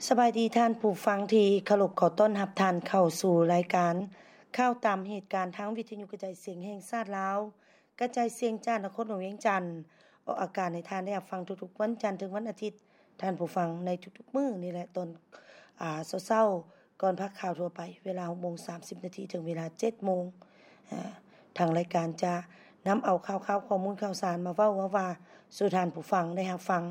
ສະບາຍດີທ່ານຜູ້ຟັງທີ່ເຄົາລົບ, ຂໍຕ້ອນຮັບທ່ານເຂົ້າສູ່ລາຍການຂ່າວຕາມເຫດການທາງວິທະຍຸກະຈາຍສຽງແຫ່ງຊາດລາວ, ກະຈາຍສຽງຈາກນະຄອນຫຼວງວຽງຈັນ, ອອກອາກາດໃຫ້ທ່ານໄດ້ຮັບຟັງທຸກໆວັນຈັນເຖິງວັນອາທິດ, ທ່ານຜູ້ຟັງ, ໃນທຸກໆມື້ນີ້ແຫຼະ, ຕອນ ອາ ເຊົ້າໆ ກ່ອນພາກຂ່າວທົ່ວໄປ ເວລາຫົກໂມງສາມສິບນາທີ ເຖິງເວລາເຈັດໂມງ. ອາ ທາງລາຍການຈະນຳເອົາຂ່າວຄາວ, ຂໍ້ມູນຂ່າວສານມາເວົ້າວ່າ ວ່າສູ່ທ່ານຜູ້ຟັງໄດ້ຮັບຟັງ.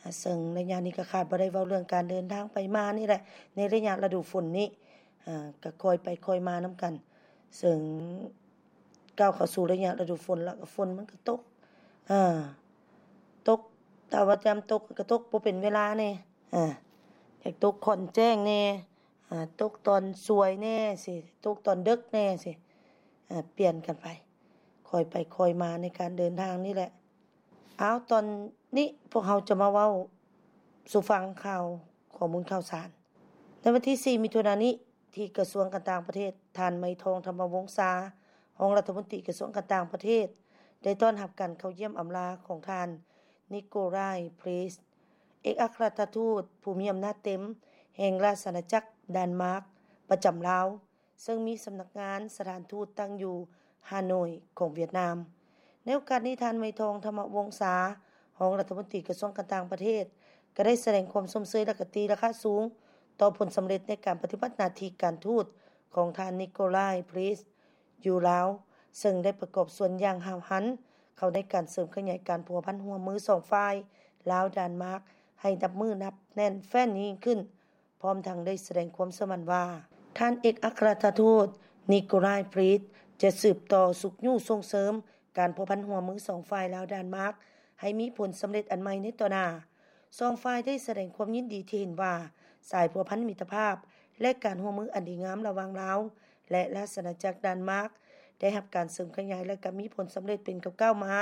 ອາ ເຊິ່ງໄລຍະນີ້ກໍຂາດບໍ່ໄດ້ເວົ້າເລື່ອງການເດີນທາງໄປມານີ້ແຫຼະ ໃນໄລຍະລະດູຝົນນີ້. ອາ ກໍຄ່ອຍໄປຄ່ອຍມານຳກັນ, ເຊິ່ງ ກ້າວເຂົ້າສູ່ໄລຍະລະດູຝົນ ແລ້ວກໍຝົນມັນກໍຕົກ ເອີ ຕົກ ຖ້າວ່າຍາມຕົກກໍຕົກບໍ່ເປັນເວລາແດ່ ເອີ ຢາກຕົກຂ້ອນແຈ້ງແດ່ ເອີ ຕົກຕອນສວຍແດ່ຊີ້ ຕົກຕອນເດິກແດ່ຊີ້ ເອີ ປ່ຽນກັນໄປ ຄ່ອຍໄປຄ່ອຍມາໃນການເດີນທາງນີ້ແຫຼະ. ເອົາ ຕອນນີ້ພວກເຮົາຈະມາເວົ້າສູ່ຟັງຂ່າວ ຂໍ້ມູນຂ່າວສານ. ໃນວັນທີສີ່ ມິຖຸນານີ້ ທີ່ກະຊວງການຕ່າງປະເທດ, ທ່ານ ໄມທອງ ທຳມະວົງສາ, ຮອງລັດຖະມົນຕີກະຊວງການຕ່າງປະເທດ ໄດ້ຕ້ອນຮັບການເຂົ້າຢ້ຽມອຳລາຂອງທ່ານ ນິໂກລາຍ ພຣີສ ເອກອັກຄະລັດຖະທູດຜູ້ມີອຳນາດເຕັມແຫ່ງລາຊະອານາຈັກດານມາກປະຈຳລາວ, ເຊິ່ງມີສຳນັກງານສະຖານທູດຕັ້ງຢູ່ຮ່າໂນ້ຍຂອງຫວຽດນາມ. ໃນໂອກາດນີ້, ທ່ານ ໄມທອງ ທຳມະວົງສາ, ຮອງລັດຖະມົນຕີກະຊວງການຕ່າງປະເທດ ກໍໄດ້ສະແດງຄວາມຊົມເຊີຍ ແລະ ກໍຕີລາຄາສູງຕໍ່ຜົນສຳເລັດໃນການປະຕິບັດໜ້າທີ່ການທູດຂອງທ່ານ ນິໂກລາຍ ພຣີສ ຢູ່ລາວ, ເຊິ່ງໄດ້ປະກອບສ່ວນຢ່າງຫ້າວຫັນເຂົ້າໃນການເສີມຂະຫຍາຍການພົວພັນຮ່ວມມືສອງຝ່າຍ ລາວ-ດານມາກ ໃຫ້ນັບມື້ນັບແໜ້ນແຟ້ນຍິ່ງຂຶ້ນ. ພ້ອມທັງໄດ້ສະແດງຄວາມເຊື່ອໝັ້ນວ່າ ທ່ານເອກອັກຄະລັດຖະທູດ ນິໂກລາຍ ພຣີສ ຈະສືບຕໍ່ຊຸກຍູ້ສົ່ງເສີມການພົວພັນຮ່ວມມືສອງຝ່າຍ ລາວ-ດານມາກ ໃຫ້ມີຜົນສຳເລັດອັນໃໝ່ໃນຕໍ່ໜ້າ. ສອງຝ່າຍໄດ້ສະແດງຄວາມຍິນດີທີ່ເຫັນວ່າ ສາຍພົວພັນມິດຕະພາບ ແລະ ການຮ່ວມມືອັນດີງາມລະຫວ່າງລາວ ແລະ ລາຊະອານາຈັກດານມາກ ໄດ້ຮັບການເສີມຂະຫຍາຍ ແລະ ກໍມີຜົນສຳເລັດເປັນກ້າວໆມາ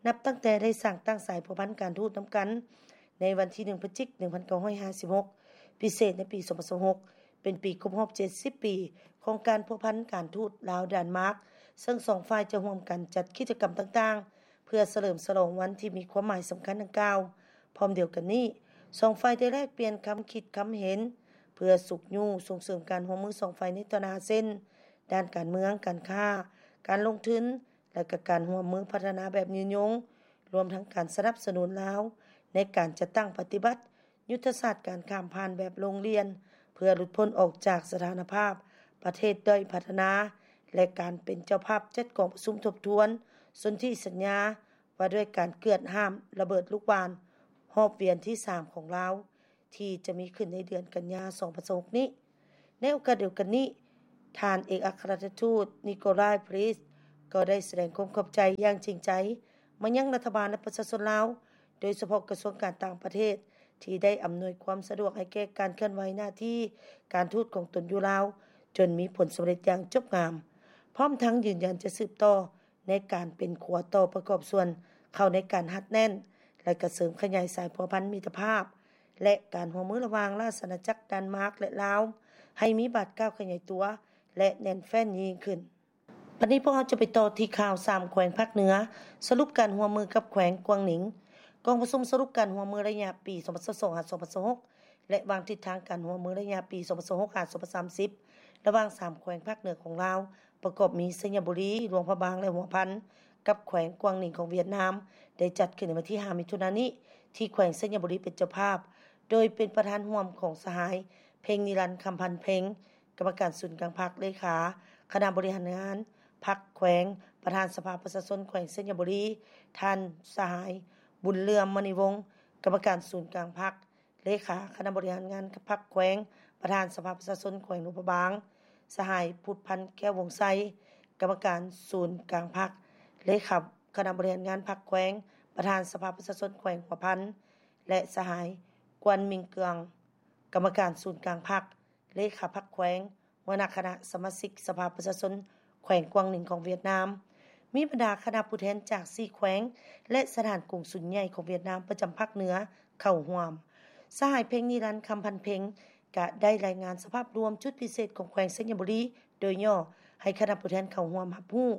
ນັບຕັ້ງແຕ່ໄດ້ສ້າງຕັ້ງສາຍພົວພັນການທູດນຳກັນ ໃນວັນທີໜຶ່ງ ພະຈິກ ໜຶ່ງພັນເກົ້າຮ້ອຍຫ້າສິບຫົກ ພິເສດໃນປີສອງພັນຊາວຫົກ ເປັນປີຄົບຮອບເຈັດສິບປີຂອງການພົວພັນການທູດລາວ-ດານມາກ, ເຊິ່ງສອງຝ່າຍຈະຮ່ວມກັນຈັດກິດຈະກຳຕ່າງໆ ເພື່ອສະເຫຼີມສະຫຼອງວັນທີ່ມີຄວາມໝາຍສຳຄັນດັ່ງກ່າວ. ພ້ອມດຽວກັນນີ້, ສອງຝ່າຍໄດ້ແລກປ່ຽນຄຳຄິດຄຳເຫັນ ເພື່ອຊຸກຍູ້ສົ່ງເສີມການຮ່ວມມືສອງຝ່າຍໃນຕໍ່ໜ້າ ເຊັ່ນ ດ້ານການເມືອງ, ການຄ້າ, ການລົງທຶນ ແລະ ກະການຮ່ວມມືພັດທະນາແບບຍືນຍົງ, ລວມທັງການສະໜັບສະໜູນລາວໃນການຈັດຕັ້ງປະຕິບັດຍຸດທະສາດການຂ້າມຜ່ານແບບໂຮງຮຽນ ເພື່ອຫຼຸດພົ້ນອອກຈາກສະຖານະພາບປະເທດດ້ອຍພັດທະນາ ແລະ ການເປັນເຈົ້າພາບຈັດກອງປະຊຸມທົບທວນສົນທິສັນຍາວ່າດ້ວຍການເກືອດຫ້າມລະເບີດລູກຫວ່ານຮອບວຽນທີສາມຂອງລາວ ທີ່ຈະມີຂຶ້ນໃນເດືອນກັນຍາ ສອງພັນຊາວຫົກນີ້. ໃນໂອກາດດຽວກັນນີ້, ທ່ານເອກອັກຄະລັດຖະທູດ ນິໂກລາຍ ພຣີສ ກໍໄດ້ສະແດງຄວາມຂອບໃຈຢ່າງຈິງໃຈມາຍັງລັດຖະບານ ແລະ ປະຊາຊົນລາວ, ໂດຍສະເພາະກະຊວງການຕ່າງປະເທດ ທີ່ໄດ້ອຳນວຍຄວາມສະດວກໃຫ້ແກ່ການເຄື່ອນໄຫວໜ້າທີ່ການທູດຂອງຕົນຢູ່ລາວ ຈົນມີຜົນສຳເລັດຢ່າງຈົບງາມ, ພ້ອມທັງຢືນຢັນຈະສືບຕໍ່ ໃນການເປັນຂົວຕໍ່ປະກອບສ່ວນເຂົ້າໃນການຮັດແໜ້ນ ແລະ ກະເສີມຂະຫຍາຍສາຍພົວພັນມິດຕະພາບ ແລະ ການຮ່ວມມືລະຫວ່າງລາຊະອານາຈັກດານມາກ ແລະ ລາວ ໃຫ້ມີບາດກ້າວຂະຫຍາຍຕົວ ແລະ ແໜ້ນແຟ້ນຍິ່ງຂຶ້ນ. ບັດນີ້ພວກເຮົາຈະໄປຕໍ່ທີ່ຂ່າວສາມແຂວງພາກເໜືອ ສະຫຼຸບການຮ່ວມມືກັບແຂວງກວາງໜິງ. ກອງປະຊຸມສະຫຼຸບການຮ່ວມມືໄລຍະປີສອງພັນຊາວສອງ ຫາ ສອງພັນຊາວຫົກ ແລະ ວາງທິດທາງການຮ່ວມມືໄລຍະປີສອງພັນຊາວຫົກ ຫາ ສອງພັນສາມສິບ ລະຫວ່າງສາມແຂວງພາກເໜືອຂອງລາວ ປະກອບມີ ໄຊຍະບູລີ, ຫຼວງພະບາງ ແລະ ຫົວພັນ ກັບແຂວງກວາງໜິງຂອງຫວຽດນາມ ໄດ້ຈັດຂຶ້ນໃນວັນທີຫ້າ ມິຖຸນານີ້ ທີ່ແຂວງໄຊຍະບູລີເປັນເຈົ້າພາບ, ໂດຍເປັນປະທານຮ່ວມຂອງສະຫາຍ ເພັງນິລັນ ຄຳພັນເພັງ ກຳມະການສູນກາງພັກ, ເລຂາຄະນະບໍລິຫານງານພັກແຂວງ, ປະທານສະພາປະຊາຊົນແຂວງໄຊຍະບູລີ, ທ່ານສະຫາຍ ບຸນເຫຼື່ອມ ມະນີວົງ ກຳມະການສູນກາງພັກ, ເລຂາຄະນະບໍລິຫານງານພັກແຂວງ, ປະທານສະພາປະຊາຊົນແຂວງຫຼວງພະບາງ, ສະຫາຍ ພຸດພັນ ແກ້ວວົງໄຊ ກຳມະການສູນກາງພັກ, ເລຂາຄະນະບໍລິຫານງານພັກແຂວງ, ປະທານສະພາປະຊາຊົນແຂວງຫົວພັນ ແລະ ສະຫາຍ ກວນມິງເກືອງ ກຳມະການສູນກາງພັກ, ເລຂາພັກແຂວງ, ຫົວໜ້າຄະນະສະມາຊິກສະພາປະຊາຊົນແຂວງກວາງໜິງຂອງຫວຽດນາມ, ມີບັນດາຄະນະຜູ້ແທນຈາກສີ່ແຂວງ ແລະ ສະຖານກົງສຸນໃຫຍ່ຂອງຫວຽດນາມປະຈຳພາກເໜືອເຂົ້າຮ່ວມ. ສະຫາຍ ເພັງນິລັນ ຄຳພັນເພັງ ກະໄດ້ລາຍງານສະພາບລວມຈຸດພິເສດຂອງແຂວງໄຊຍະບູລີໂດຍຫຍໍ້ໃຫ້ຄະນະຜູ້ແທນເຂົ້າຮ່ວມຮັບຮູ້,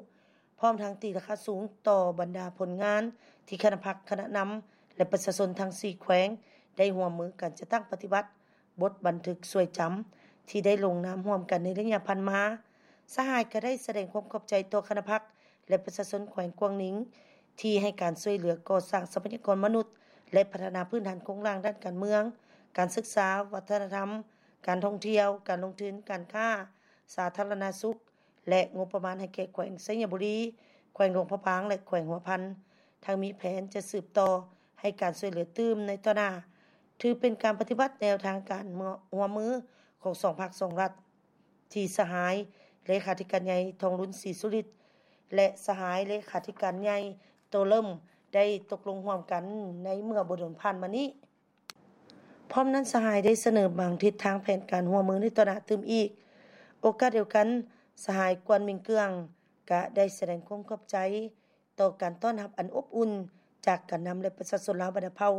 ພ້ອມທັງຕີລາຄາສູງຕໍ່ບັນດາຜົນງານທີ່ຄະນະພັກ, ຄະນະນຳ ແລະ ປະຊາຊົນທັງສີ່ແຂວງໄດ້ຮ່ວມມືກັນຈັດຕັ້ງປະຕິບັດ ບົດບັນທຶກຊ່ວຍຈຳທີ່ໄດ້ລົງນາມຮ່ວມກັນໃນໄລຍະຜ່ານມາ. ສະຫາຍກໍໄດ້ສະແດງຄວາມຂອບໃຈຕໍ່ຄະນະພັກ ແລະ ປະຊາຊົນແຂວງກວາງໜິງ ທີ່ໃຫ້ການຊ່ວຍເຫຼືອກໍ່ສ້າງຊັບພະຍາກອນມະນຸດ ແລະ ພັດທະນາພື້ນຖານໂຄງລ່າງດ້ານການເມືອງ, ການສຶກສາ, ວັດທະນະທຳ, ການທ່ອງທ່ຽວ, ການລົງທຶນ, ການຄ້າ, ສາທາລະນະສຸກ ແລະ ງົບປະມານໃຫ້ແກ່ແຂວງໄຊຍະບູລີ, ແຂວງຫຼວງພະບາງ ແລະ ແຂວງຫົວພັນ, ທັງມີແຜນຈະສືບຕໍ່ໃຫ້ການຊ່ວຍເຫຼືອຕື່ມໃນຕໍ່ໜ້າ. ຖືເປັນການປະຕິບັດແນວທາງການຮ່ວມມືຂອງສອງພັກສອງລັດ ທີ່ສະຫາຍເລຂາທິການໃຫຍ່ ທອງລຸນ ສີສຸລິດ ແລະ ສະຫາຍເລຂາທິການໃຫຍ່ ໂຕເລິມ ໄດ້ຕົກລົງຮ່ວມກັນໃນເມື່ອບໍ່ດົນຜ່ານມານີ້. ພ້ອມນັ້ນ ສະຫາຍໄດ້ສະເໜີບາງທິດທາງແຜນການຮ່ວມມືໃນຕໍ່ໜ້າຕື່ມອີກ. ໂອກາດດຽວກັນ, ສະຫາຍ ກວນ ມິງເກືອງ ກະໄດ້ສະແດງຄວາມຂອບໃຈຕໍ່ການຕ້ອນຮັບອັນອົບອຸ່ນຈາກການນຳ ແລະ ປະຊາຊົນລາວບັນດາເຜົ່າ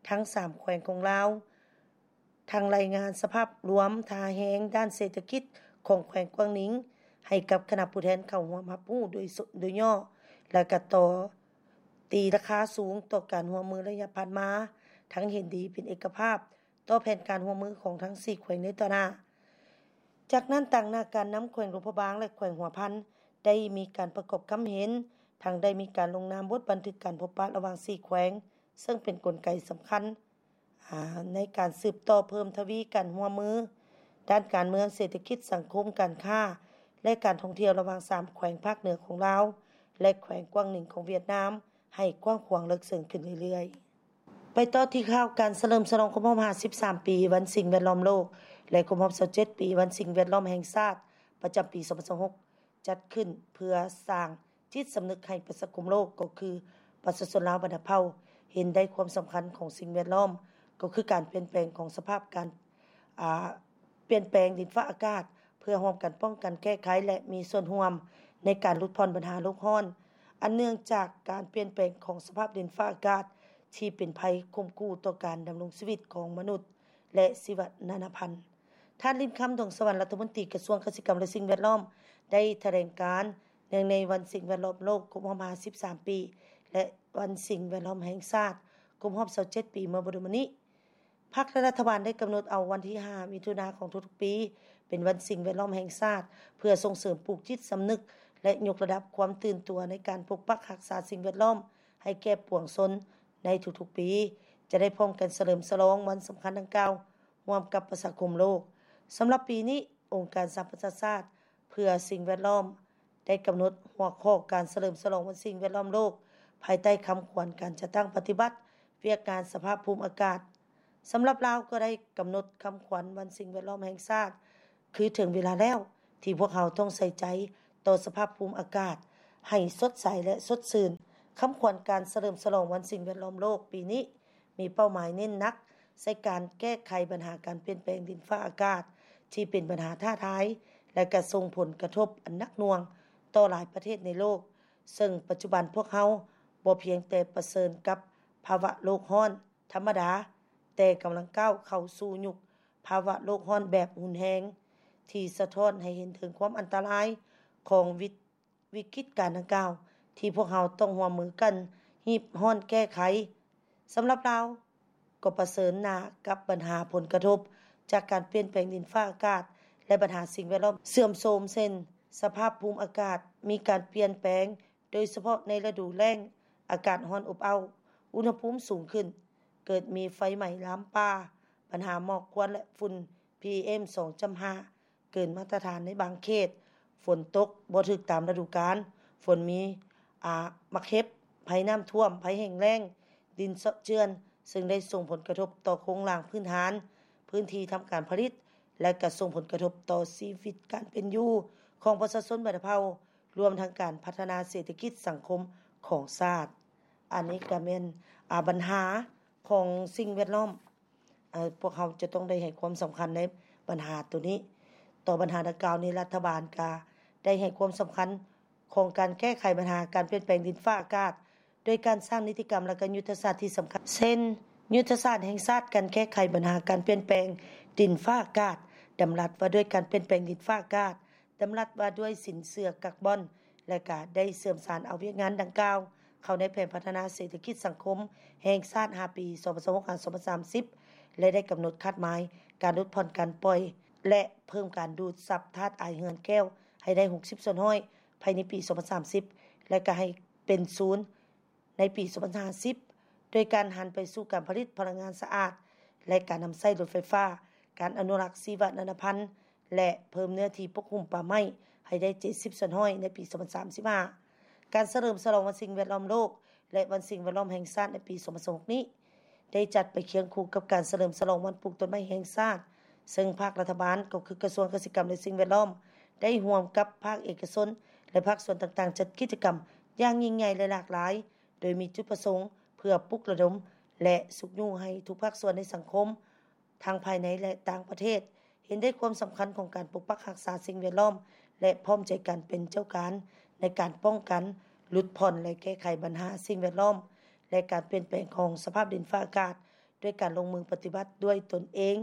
ທັງສາມແຂວງຂອງລາວ, ທັງລາຍງານສະພາບລວມທ່າແຮງດ້ານເສດຖະກິດຂອງແຂວງກວາງໜິງ ໃຫ້ກັບຄະນະຜູ້ແທນເຂົ້າຮ່ວມຮັບຮູ້ໂດຍສ- ໂດຍຫຍໍ້ ແລະ ກະຕໍ່ ຕີລາຄາສູງຕໍ່ການຮ່ວມມືໄລຍະຜ່ານມາ, ທັງເຫັນດີເປັນເອກະພາບຕໍ່ແຜນການຮ່ວມມືຂອງທັງສີ່ແຂວງໃນຕໍ່ໜ້າ. ຈາກນັ້ນ, ຕາງໜ້າການນຳແຂວງຫຼວງພະບາງ ແລະ ແຂວງຫົວພັນ ໄດ້ມີການປະກອບຄຳເຫັນ, ທັງໄດ້ມີການລົງນາມບົດບັນທຶກການພົບປະລະຫວ່າງສີ່ແຂວງ, ເຊິ່ງເປັນກົນໄກສຳຄັນ ອາ ໃນການສືບຕໍ່ເພີ່ມທະວີການຮ່ວມມືດ້ານການເມືອງ, ເສດຖະກິດ, ສັງຄົມ, ການຄ້າ ແລະ ການທ່ອງທ່ຽວລະຫວ່າງສາມແຂວງພາກເໜືອຂອງລາວ ແລະ ແຂວງກວາງໜິງຂອງຫວຽດນາມ ໃຫ້ກວ້າງຂວາງເລິກເຊິ່ງຂຶ້ນເລື້ອຍໆ. ໄປຕໍ່ທີ່ຂ່າວການສະເຫຼີມສະຫຼອງຄົບຮອບຫ້າສິບສາມປີວັນສິ່ງແວດລ້ອມໂລກ ແລະ ຄົບຮອບຊາວເຈັດປີວັນສິ່ງແວດລ້ອມແຫ່ງຊາດ ປະຈຳປີສອງພັນຊາວຫົກ ຈັດຂຶ້ນເພື່ອສ້າງຈິດສຳນຶກໃຫ້ປະຊາຄົມໂລກ ກໍຄືປະຊາຊົນລາວບັນດາເຜົ່າ ເຫັນໄດ້ຄວາມສຳຄັນຂອງສິ່ງແວດລ້ອມ ກໍຄືການປ່ຽນແປງຂອງສະພາບການ ອາ ປ່ຽນແປງດິນຟ້າອາກາດ ເພື່ອຮ່ວມກັນປ້ອງກັນແກ້ໄຂ ແລະ ມີສ່ວນຮ່ວມໃນການຫຼຸດຜ່ອນບັນຫາໂລກຮ້ອນ ອັນເນື່ອງຈາກການປ່ຽນແປງຂອງສະພາບດິນຟ້າອາກາດ ທີ່ເປັນໄພຂົ່ມຂູ່ຕໍ່ການດຳລົງຊີວິດຂອງມະນຸດ ແລະ ຊີວະນານາພັນ. ທ່ານ ລິນຄຳ ດວງສະຫວັນ ລັດຖະມົນຕີກະຊວງກະສິກຳ ແລະ ສິ່ງແວດລ້ອມ ໄດ້ຖະແຫຼງການເນື່ອງໃນວັນສິ່ງແວດລ້ອມໂລກຄົບຮອບຫ້າສິບສາມປີ ແລະ ວັນສິ່ງແວດລ້ອມແຫ່ງຊາດຄົບຮອບຊາວເຈັດປີ ເມື່ອບໍ່ດົນມານີ້. ພັກ ແລະ ລັດຖະບານໄດ້ກຳນົດເອົາວັນທີຫ້າ ມິຖຸນາຂອງທຸກໆປີ ເປັນວັນສິ່ງແວດລ້ອມແຫ່ງຊາດ ເພື່ອສົ່ງເສີມປູກຈິດສຳນຶກ ແລະ ຍົກລະດັບຄວາມຕື່ນຕົວໃນການປົກປັກຮັກສາສິ່ງແວດລ້ອມໃຫ້ແກ່ປວງຊົນໃນທຸກໆປີ ຈະໄດ້ພ້ອມກັນສະເຫຼີມສະຫຼອງວັນສຳຄັນດັ່ງກ່າວ ຮ່ວມກັບປະຊາຄົມໂລກ. ສຳລັບປີນີ້, ອົງການສະຫະປະຊາຊາດເພື່ອສິ່ງແວດລ້ອມ ໄດ້ກຳນົດຫົວຂໍ້ການສະເຫຼີມສະຫຼອງວັນສິ່ງແວດລ້ອມໂລກ ພາຍໃຕ້ຄຳຂວັນການຈັດຕັ້ງປະຕິບັດວຽກງານສະພາບພູມອາກາດ. ສຳລັບລາວກໍໄດ້ກຳນົດຄຳຂວັນວັນສິ່ງແວດລ້ອມແຫ່ງຊາດ ຄືເຖິງເວລາແລ້ວທີ່ພວກເຮົາຕ້ອງໃສ່ໃຈຕໍ່ສະພາບພູມອາກາດໃຫ້ສົດໃສ ແລະ ສົດຊື່ນ. ຄຳຂວັນການສະເຫຼີມສະຫຼອງວັນສິ່ງແວດລ້ອມໂລກປີນີ້ ມີເປົ້າໝາຍເນັ້ນໜັກໃສ່ການແກ້ໄຂບັນຫາການປ່ຽນແປງດິນຟ້າອາກາດ ທີ່ເປັນບັນຫາທ້າທາຍ ແລະ ກະສົ່ງຜົນກະທົບອັນໜັກໜ່ວງຕໍ່ຫຼາຍປະເທດໃນໂລກ, ເຊິ່ງປັດຈຸບັນພວກເຮົາບໍ່ພຽງແຕ່ປະເຊີນກັບພາວະໂລກຮ້ອນທຳມະດາ, ແຕ່ກຳລັງກ້າວເຂົ້າສູ່ຍຸກພາວະໂລກຮ້ອນແບບຮຸນແຮງ ທີ່ສະທ້ອນໃຫ້ເຫັນເຖິງຄວາມອັນຕະລາຍຂອງວິ ວິກິດການດັ່ງກ່າວ ທີ່ພວກເຮົາຕ້ອງຮ່ວມມືກັນຮີບຮ້ອນແກ້ໄຂ. ສຳລັບລາວກໍປະເຊີນໜ້າກັບບັນຫາຜົນກະທົບຈາກການປ່ຽນແປງດິນຟ້າອາກາດ ແລະ ບັນຫາສິ່ງແວດລ້ອມເສື່ອມໂຊມ ເຊັ່ນ ສະພາບພູມອາກາດມີການປ່ຽນແປງ, ໂດຍສະເພາະໃນລະດູແລ້ງ, ອາກາດຮ້ອນອົບເອົ້າ, ອຸນຫະພູມສູງຂຶ້ນ, ເກີດມີໄຟໄໝ້ລາມປ່າ, ບັນຫາໝອກຄວັນ ແລະ ຝຸ່ນ ພີເອັມ ສອງຈຸດຫ້າ ເກີນມາດຕະຖານໃນບາງເຂດ, ຝົນຕົກບໍ່ຖືກຕາມລະດູການ, ຝົນມີ ອາ ໝາກເຫັບ, ໄພນ້ຳຖ້ວມ, ໄພແຫ້ງແລ້ງ, ດິນເຊາະເຈື່ອນ, ເຊິ່ງໄດ້ສົ່ງຜົນກະທົບຕໍ່ໂຄງລ່າງພື້ນຖານ, ພື້ນທີ່ທຳການຜະລິດ ແລະ ກະສົ່ງຜົນກະທົບຕໍ່ຊີວິດການເປັນຢູ່ຂອງປະຊາຊົນບັນດາເຜົ່າ, ລວມທັງການພັດທະນາເສດຖະກິດສັງຄົມຂອງຊາດ. ອັນນີ້ກະແມ່ນ ອາ ບັນຫາຂອງສິ່ງແວດລ້ອມ. ເອີ ພວກເຮົາຈະຕ້ອງໄດ້ໃຫ້ຄວາມສຳຄັນໃນບັນຫາໂຕນີ້. ຕໍ່ບັນຫາດັ່ງກ່າວນີ້, ລັດຖະບານກະໄດ້ໃຫ້ຄວາມສຳຄັນຂອງການແກ້ໄຂບັນຫາການປ່ຽນແປງດິນຟ້າອາກາດ ໂດຍການສ້າງນິຕິກຳ ແລະ ກະຍຸດທະສາດທີ່ສຳຄັນ ເຊັ່ນ ຍຸດທະສາດແຫ່ງຊາດການແກ້ໄຂບັນຫາການປ່ຽນແປງດິນຟ້າອາກາດ, ດຳລັດວ່າດ້ວຍການປ່ຽນແປງດິນຟ້າອາກາດ, ດຳລັດວ່າດ້ວຍສິນເຊື່ອກາບອນ ແລະ ກະໄດ້ເຊື່ອມສານເອົາວຽກງານດັ່ງກ່າວເຂົ້າໃນແຜນພັດທະນາເສດຖະກິດສັງຄົມແຫ່ງຊາດຫ້າປີ ສອງພັນຊາວຫົກ ຫາ ສອງພັນສາມສິບ ແລະ ໄດ້ກຳນົດຄາດໝາຍການຫຼຸດຜ່ອນການປ່ອຍ ແລະ ເພີ່ມການດູດຊັບທາດອາຍເຮືອນແກ້ວໃຫ້ໄດ້ຫົກສິບສ່ວນຮ້ອຍ ພາຍໃນປີສອງພັນສາມສິບ ແລະ ກະໃຫ້ເປັນສູນໃນປີສອງພັນຫ້າສິບ ໂດຍການຫັນໄປສູ່ການຜະລິດພະລັງງານສະອາດ ແລະ ການນຳໃຊ້ລົດໄຟຟ້າ, ການອະນຸລັກຊີວະນານາພັນ ແລະ ເພີ່ມເນື້ອທີ່ປົກຫຸ້ມປ່າໄມ້ໃຫ້ໄດ້ເຈັດສິບສ່ວນຮ້ອຍໃນປີສອງພັນສາມສິບຫ້າ. ການສະເຫຼີມສະຫຼອງວັນສິ່ງແວດລ້ອມໂລກ ແລະ ວັນສິ່ງແວດລ້ອມແຫ່ງຊາດໃນປີສອງພັນຊາວຫົກນີ້ ໄດ້ຈັດໄປຄຽງຄູ່ກັບການສະເຫຼີມສະຫຼອງວັນປູກຕົ້ນໄມ້ແຫ່ງຊາດ, ເຊິ່ງພາກລັດຖະບານ ກໍຄືກະຊວງກະສິກຳ ແລະ ສິ່ງແວດລ້ອມ ໄດ້ຮ່ວມກັບພາກເອກະຊົນ ແລະ ພາກສ່ວນຕ່າງໆ ຈັດກິດຈະກຳຢ່າງຍິ່ງໃຫຍ່ ແລະ ຫຼາກຫຼາຍ, ໂດຍມີຈຸດປະສົງເພື່ອປຸກລະດົມ ແລະ ຊຸກຍູ້ໃຫ້ທຸກພາກສ່ວນໃນສັງຄົມ ທັງພາຍໃນ ແລະ ຕ່າງປະເທດ ເຫັນໄດ້ຄວາມສຳຄັນຂອງການປົກປັກຮັກສາສິ່ງແວດລ້ອມ ແລະ ພ້ອມໃຈກັນເປັນເຈົ້າການໃນການປ້ອງກັນ, ຫຼຸດຜ່ອນ ແລະ ແກ້ໄຂບັນຫາສິ່ງແວດລ້ອມ ແລະ ການປ່ຽນແປງຂອງສະພາບດິນຟ້າອາກາດ ດ້ວຍການລົງມືປະຕິບັດດ້ວຍຕົນເອງ,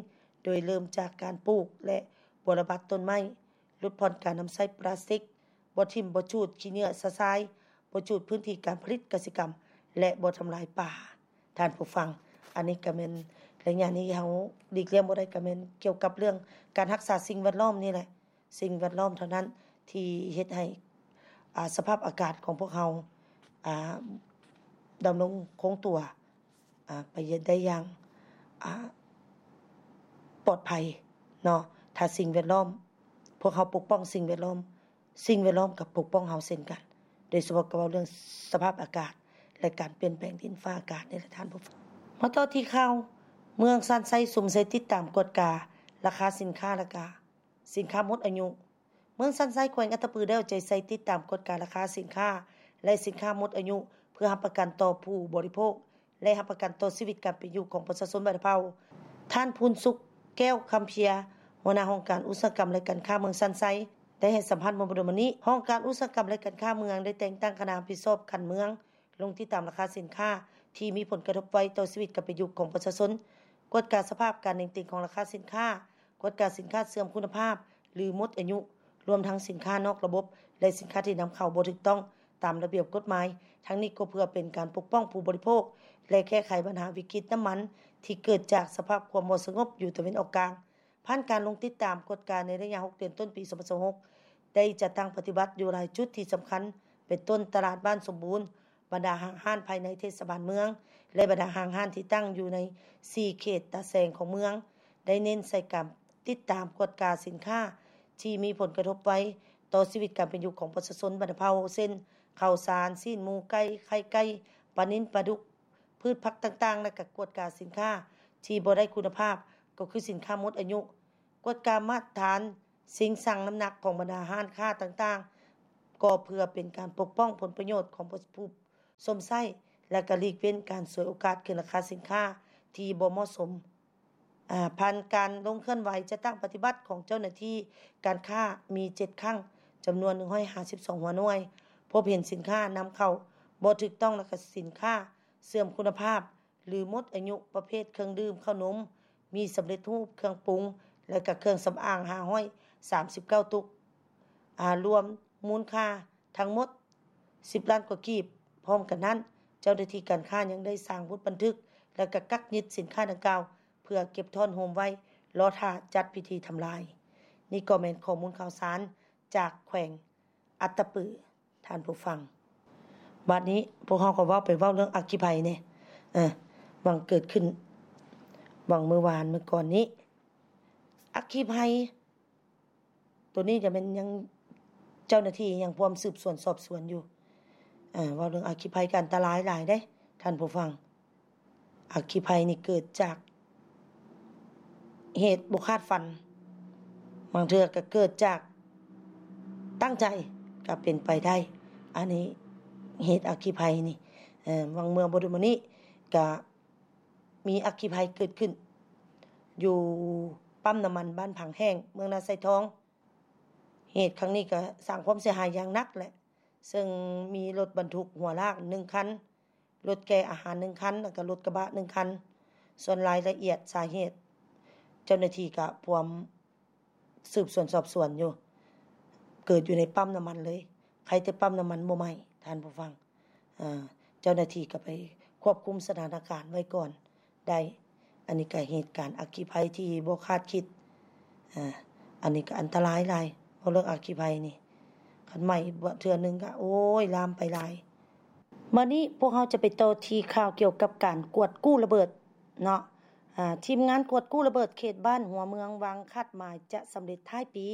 ໂດຍເລີ່ມຈາກການປູກ ແລະ ບົວລະບັດຕົ້ນໄມ້, ຫຼຸດຜ່ອນການນຳໃຊ້ປລາສຕິກ, ບໍ່ຖິ້ມບໍ່ຈູດຂີ້ເຫຍື້ອຊະຊາຍ, ບໍ່ຈູດພື້ນທີ່ການຜະລິດກະສິກຳ ແລະ ບໍ່ທຳລາຍປ່າ. ທ່ານຜູ້ຟັງ, ອັນນີ້ກໍແມ່ນ ໄລຍະນີ້ເຮົາຫຼີກລ່ຽງບໍ່ໄດ້ ກໍແມ່ນກ່ຽວກັບເລື່ອງການຮັກສາສິ່ງແວດລ້ອມນີ້ແຫຼະ. ສິ່ງແວດລ້ອມເທົ່ານັ້ນທີ່ເຮັດໃຫ້ ອາ ສະພາບອາກາດຂອງພວກເຮົາ ອາ ດຳລົງຄົງຕົວ ອາ ໄປໄດ້ຢ່າງ ອາ ປອດໄພເນາະ. ຖ້າສິ່ງແວດລ້ອມ ພວກເຮົາປົກປ້ອງສິ່ງແວດລ້ອມ, ສິ່ງແວດລ້ອມກໍປົກປ້ອງເຮົາເຊັ່ນກັນ, ໂດຍສະເພາະກໍເວົ້າເລື່ອງສະພາບອາກາດ ແລະ ການປ່ຽນແປງດິນຟ້າອາກາດນີ້ແຫຼະທ່ານຜູ້ຟັງ. ມາຕໍ່ທີ່ຂ່າວ ເມືອງຊານໄຊສຸມໃສ່ຕິດຕາມກວດກາລາຄາສິນຄ້າ ແລະ ກະສິນຄ້າໝົດອາຍຸ. ເມືອງຊານໄຊ ແຂວງອັດຕະປື ໄດ້ເອົາໃຈໃສ່ຕິດຕາມກວດກາລາຄາສິນຄ້າ ແລະ ສິນຄ້າໝົດອາຍຸ ເພື່ອຮັບປະກັນຕໍ່ຜູ້ບໍລິໂພກ ແລະ ຮັບປະກັນຕໍ່ຊີວິດການເປັນຢູ່ຂອງປະຊາຊົນບັນດາເຜົ່າ. ທ່ານ ພູນສຸກ ແກ້ວຄຳເພຍ ຫົວໜ້າຫ້ອງການອຸດສາຫະກຳ ແລະ ການຄ້າເມືອງຊານໄຊ ໄດ້ໃຫ້ສຳພາດເມື່ອບໍ່ດົນມານີ້. ຫ້ອງການອຸດສາຫະກຳ ແລະ ການຄ້າເມືອງ ໄດ້ແຕ່ງຕັ້ງຄະນະຮັບຜິດຊອບຂັ້ນເມືອງ ລົງຕິດຕາມລາຄາສິນຄ້າທີ່ມີຜົນກະທົບໄວຕໍ່ຊີວິດການເປັນຢູ່ຂອງປະຊາຊົນ, ກວດກາສະພາບການເໜັງຕີງຂອງລາຄາສິນຄ້າ, ກວດກາສິນຄ້າເສື່ອມຄຸນນະພາບ ຫຼື ໝົດອາຍຸ, ລວມທັງສິນຄ້ານອກລະບົບ ແລະ ສິນຄ້າທີ່ນຳເຂົ້າບໍ່ຖືກຕ້ອງຕາມລະບຽບກົດໝາຍ. ທັງນີ້ກໍເພື່ອເປັນການປົກປ້ອງຜູ້ບໍລິໂພກ ແລະ ແກ້ໄຂບັນຫາວິກິດນ້ຳມັນທີ່ເກີດຈາກສະພາບຄວາມບໍ່ສະຫງົບຢູ່ຕາເວັນອອກກາງ. ຜ່ານການລົງຕິດຕາມກວດກາໃນໄລຍະຫົກເດືອນຕົ້ນປີສອງພັນຊາວຫົກ ໄດ້ຈັດຕັ້ງປະຕິບັດຢູ່ຫຼາຍຈຸດທີ່ສຳຄັນ ເປັນຕົ້ນຕະຫຼາດບ້ານສົມບູນ, ບັນດາຫ້າງຮ້ານພາຍໃນເທດສະບານເມືອງ ແລະ ບັນດາຫ້າງຮ້ານທີ່ຕັ້ງຢູ່ໃນສີ່ເຂດຕາແສງຂອງເມືອງ ໄດ້ເນັ້ນໃສ່ການຕິດຕາມກວດກາສິນຄ້າທີ່ມີຜົນກະທົບໄວຕໍ່ຊີວິດການເປັນຢູ່ຂອງປະຊາຊົນບັນດາເຜົ່າ ເຊັ່ນ ເຂົ້າສານ, ຊີ້ນໝູ, ໄກ່, ໄຂ່ໄກ່, ປານິນ, ປາດຸກ, ພືດຜັກຕ່າງໆ ແລະ ກະກວດກາສິນຄ້າທີ່ບໍ່ໄດ້ຄຸນນະພາບ ກໍຄືສິນຄ້າໝົດອາຍຸ, ກວດກາມາດຕະຖານຊິງຊັ່ງນ້ຳໜັກຂອງບັນດາຮ້ານຄ້າຕ່າງໆ ກໍເພື່ອເປັນການປົກປ້ອງຜົນປະໂຫຍດຂອງຜູ້ຊົມໃຊ້ ແລະ ກະຫຼີກເວັ້ນການສວຍໂອກາດຂຶ້ນລາຄາສິນຄ້າທີ່ບໍ່ເໝາະສົມ. ອາ ຜ່ານການລົງເຄື່ອນໄຫວຈັດຕັ້ງປະຕິບັດຂອງເຈົ້າໜ້າທີ່ການຄ້າມີເຈັດຄັ້ງ ຈຳນວນໜຶ່ງຮ້ອຍຫ້າສິບສອງຫົວໜ່ວຍ, ພົບເຫັນສິນຄ້ານຳເຂົ້າບໍ່ຖືກຕ້ອງ ແລະ ກະສິນຄ້າເສື່ອມຄຸນນະພາບ ຫຼື ໝົດອາຍຸ ປະເພດເຄື່ອງດື່ມ, ເຂົ້າໜົມ, ໝີ່ສຳເລັດຮູບ, ເຄື່ອງປຸງ ແລະ ກະເຄື່ອງສຳອາງ ຫ້າຮ້ອຍສາມສິບເກົ້າຕຸກ, ອາ ລວມມູນຄ່າທັງໝົດສິບລ້ານກວ່າກີບ. ພ້ອມກັນນັ້ນ, ເຈົ້າໜ້າທີ່ການຄ້າຍັງໄດ້ສ້າງບົດບັນທຶກ ແລະ ກະກັກຍຶດສິນຄ້າດັ່ງກ່າວ ເພື່ອເກັບທ້ອນໂຮມໄວ້ ລໍຖ້າຈັດພິທີທຳລາຍ. ນີ້ກໍແມ່ນຂໍ້ມູນຂ່າວສານຈາກແຂວງອັດຕະປື ທ່ານຜູ້ຟັງ. ບາດນີ້ພວກເຮົາກໍເວົ້າໄປເວົ້າເລື່ອງອັກຄີໄພແດ່ ເອີ ຫວ່າງເກີດຂຶ້ນຫວ່າງມື້ວານມື້ກ່ອນນີ້ ອັກຄີໄພ ໂຕນີ້ຈະແມ່ນຍັງ ເຈົ້າໜ້າທີ່ຍັງພວມສືບສວນສອບສວນຢູ່. ເອີ ເວົ້າເລື່ອງອັກຄີໄພກໍອັນຕະລາຍຫຼາຍເດ້ທ່ານຜູ້ຟັງ. ອັກຄີໄພນີ້ເກີດຈາກເຫດບໍ່ຄາດຝັນ, ບາງເທື່ອກໍເກີດຈາກຕັ້ງໃຈກໍເປັນໄປໄດ້. ອັນນີ້ເຫດອັກຄີໄພນີ້ ເອີ ຫວ່າງເມື່ອບໍ່ດົນມານີ້ກໍ ມີອັກຄີໄພເກີດຂຶ້ນຢູ່ປ້ຳນ້ຳມັນບ້ານຜັງແຫ້ງ ເມືອງນາຊາຍທອງ. ເຫດຄັ້ງນີ້ກໍສ້າງຄວາມເສຍຫາຍຢ່າງໜັກແຫຼະ, ເຊິ່ງມີລົດບັນທຸກຫົວລາກໜຶ່ງຄັນ, ລົດແກ່ອາຫານໜຶ່ງຄັນ ແລ້ວກໍລົດກະບະໜຶ່ງຄັນ. ສ່ວນລາຍລະອຽດສາເຫດ ເຈົ້າໜ້າທີ່ກໍພວມ ສືບສວນສອບສວນຢູ່. ເກີດຢູ່ໃນປ້ຳນ້ຳມັນເລີຍ, ໃຄແຕ່ປ້ຳນ້ຳມັນບໍ່ໄໝ້ ທ່ານຜູ້ຟັງ. ເຈົ້າໜ້າທີ່ກໍໄປຄວບຄຸມສະຖານະການໄວ້ກ່ອນໄດ້. ອັນນີ້ກໍເຫດການອັກຄີໄພທີ່ບໍ່ຄາດຄິດ. ອາ ອັນນີ້ກໍອັນຕະລາຍຫຼາຍ ເວົ້າເລື່ອງອັກຄີໄພນີ້ ຄັນໄໝ້ເທື່ອໜຶ່ງກໍ ໂອ້ຍ ລາມໄປຫຼາຍ. ບັດນີ້ພວກເຮົາຈະໄປຕໍ່ທີ່ຂ່າວກ່ຽວກັບການກວດກູ້ລະເບີດເນາະ. ອາ ທີມງານກວດກູ້ລະເບີດເຂດບ້ານຫົວເມືອງວາງຄາດໝາຍຈະສຳເລັດທ້າຍປີ.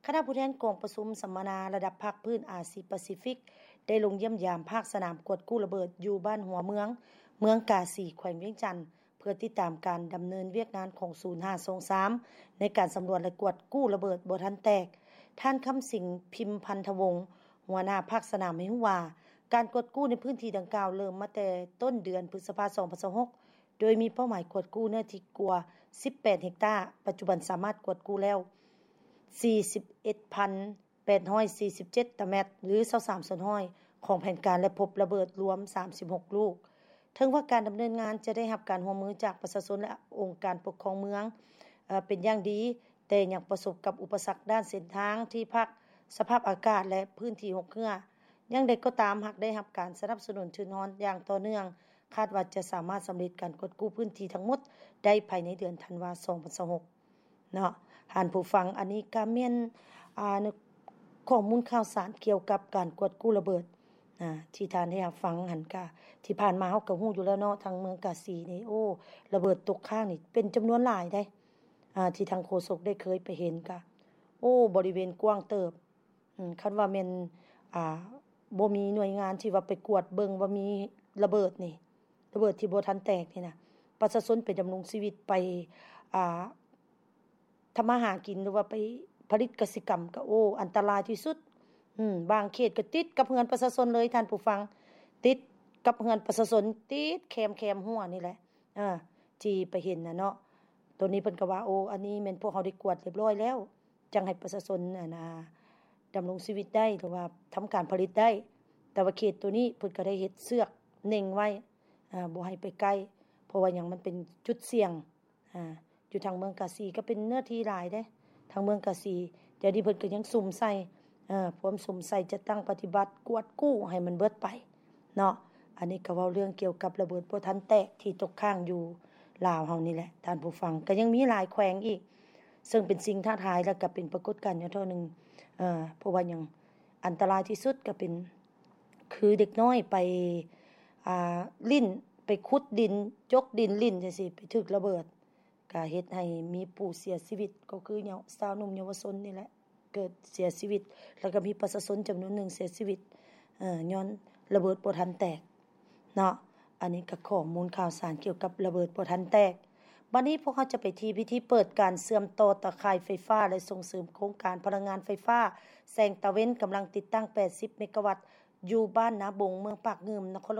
ຄະນະຜູ້ແທນກອງປະຊຸມສຳມະນາລະດັບພາກພື້ນອາຊີປາຊີຟິກ ໄດ້ລົງຢ້ຽມຢາມພາກສະໜາມກວດກູ້ລະເບີດຢູ່ບ້ານຫົວເມືອງ ເມືອງກາສີ ແຂວງວຽງຈັນ ເພື່ອຕິດຕາມການດຳເນີນວຽກງານຂອງສູນຫ້າສອງສາມ ໃນການສຳຫຼວດ ແລະ ກວດກູ້ລະເບີດບໍ່ທັນແຕກ. ທ່ານ ຄຳສິງ ພິມພັນທະວົງ ຫົວໜ້າພາກສະໜາມ ໃຫ້ຮູ້ວ່າ ການກວດກູ້ໃນພື້ນທີ່ດັ່ງກ່າວເລີ່ມມາແຕ່ຕົ້ນເດືອນພຶດສະພາ ສອງພັນຊາວຫົກ ໂດຍມີເປົ້າໝາຍກວດກູ້ເນື້ອທີ່ກວ່າສິບແປດເຮັກຕາ, ປັດຈຸບັນສາມາດກວດກູ້ແລ້ວສີ່ສິບເອັດພັນແປດຮ້ອຍສີ່ສິບເຈັດຕາແມັດ ຫຼື ຊາວສາມສ່ວນຮ້ອຍຂອງແຜນການ ແລະ ພົບລະເບີດລວມສາມສິບຫົກລູກ. ເຖິງວ່າການດຳເນີນງານຈະໄດ້ຮັບການຮ່ວມມືຈາກປະຊາຊົນ ແລະ ອົງການປົກຄອງເມືອງ ເອີ ເປັນຢ່າງດີ, ແຕ່ຍັງປະສົບກັບອຸປະສັກດ້ານເສັ້ນທາງທີ່ພັກ, ສະພາບອາກາດ ແລະ ພື້ນທີ່ຮົກເຮື້ອ. ຢ່າງໃດກໍຕາມ, ຫາກໄດ້ຮັບການສະໜັບສະໜູນທຶນຮອນຢ່າງຕໍ່ເນື່ອງ, ຄາດວ່າຈະສາມາດສຳເລັດການກວດກູ້ພື້ນທີ່ທັງໝົດໄດ້ພາຍໃນເດືອນທັນວາ ສອງພັນຊາວຫົກເນາະ. ທ່ານຜູ້ຟັງ, ອັນນີ້ກໍແມ່ນ ອາ ຂໍ້ມູນຂ່າວສານກ່ຽວກັບການກວດກູ້ລະເບີດ ອາ ທີ່ທ່ານໄດ້ຮັບຟັງຫັ້ນ. ກະທີ່ຜ່ານມາເຮົາກໍຮູ້ຢູ່ແລ້ວເນາະ, ທາງເມືອງກາສີນີ້ ໂອ້ ລະເບີດຕົກຄ້າງນີ້ເປັນຈຳນວນຫຼາຍເດ້. ອາ ທີ່ທາງໂຄສົກໄດ້ເຄີຍໄປເຫັນກະ ໂອ້ ບໍລິເວນກວ້າງເຕີບ. ອືມ ຄັນວ່າແມ່ນ ອາ ບໍ່ມີໜ່ວຍງານທີ່ວ່າໄປກວດເບິ່ງວ່າມີລະເບີດນີ້ ລະເບີດທີ່ບໍ່ທັນແຕກນີ້ນະ, ປະຊາຊົນໄປດຳລົງຊີວິດ ໄປ ອາ ທຳມາຫາກິນ ຫຼືວ່າໄປຜະລິດກະສິກຳ ກໍ ໂອ້ ອັນຕະລາຍທີ່ສຸດ. ອືມ ບາງເຂດກໍຕິດກັບເຮືອນປະຊາຊົນເລີຍ ທ່ານຜູ້ຟັງ, ຕິດກັບເຮືອນປະຊາຊົນ ຕິດແຄມ ແຄມຮົ້ວນີ້ແຫຼະ. ເອີ ທີ່ໄປເຫັນນະເນາະ. ໂຕນີ້ເພິ່ນກໍວ່າ ໂອ້ ອັນນີ້ແມ່ນພວກເຮົາໄດ້ກວດຮຽບຮ້ອຍແລ້ວ, ຈັ່ງໃຫ້ປະຊາຊົນ ອັນ ອາ ດຳລົງຊີວິດໄດ້ ຫຼືວ່າທຳການຜະລິດໄດ້. ແຕ່ວ່າເຂດໂຕນີ້ເພິ່ນກໍໄດ້ເຮັດເຊືອກເນັ່ງໄວ້ ອາ ບໍ່ໃຫ້ໄປໃກ້, ເພາະວ່າຫຍັງ ມັນເປັນຈຸດສ່ຽງ. ອາ ຢູ່ທາງເມືອງກາສີກໍເປັນເນື້ອທີ່ຫຼາຍເດ້ ທາງເມືອງກາສີ. ດຽວນີ້ເພິ່ນກໍຍັງສຸມໃສ່ ເອີ ພວມສຸມໃສ່ ຈັດຕັ້ງປະຕິບັດກວດກູ້ໃຫ້ມັນເບິດໄປເນາະ. ອັນນີ້ກໍເວົ້າເລື່ອງກ່ຽວກັບລະເບີດບໍ່ທັນແຕກທີ່ຕົກຄ້າງຢູ່ລາວເຮົານີ້ແຫຼະ ທ່ານຜູ້ຟັງ. ກໍຍັງມີຫຼາຍແຂວງອີກ ເຊິ່ງເປັນສິ່ງທ້າທາຍ ແລະ ກໍເປັນປາກົດການຢ່າງເທົ່າໜຶ່ງ. ເອີ ເພາະວ່າຫຍັງ ອັນຕະລາຍທີ່ສຸດກໍເປັນ ຄືເດັກນ້ອຍໄປ ອ່າ ຫຼິ້ນ ໄປຂຸດດິນ ຈົກດິນຫຼິ້ນຈັ່ງຊີ້ ໄປຖືກລະເບີດ ກະເຮັດໃຫ້ມີຜູ້ເສຍຊີວິດ ກໍຄືເຍົາ ຊາວໜຸ່ມເຍົາວະຊົນນີ້ແຫຼະ ເກີດເສຍຊີວິດ ແລ້ວກໍມີປະຊາຊົນຈຳນວນໜຶ່ງເສຍຊີວິດ ເອີ ຍ້ອນລະເບີດບໍ່ທັນແຕກເນາະ. ອັນນີ້ກໍຂໍ້ມູນຂ່າວສານກ່ຽວກັບລະເບີດບໍ່ທັນແຕກ. ບັດນີ້ພວກເຮົາຈະໄປທີ່ພິທີເປີດການເຊື່ອມຕໍ່ຕາຂ່າຍໄຟຟ້າ ແລະ ສົ່ງເສີມໂຄງການພະລັງງານໄຟຟ້າແສງຕາເວັນ ກຳລັງຕິດຕັ້ງແປດສິບເມກາວັດ ຢູ່ບ້ານນາບົງ ເມືອງປາກງື່ມ ນະຄອນ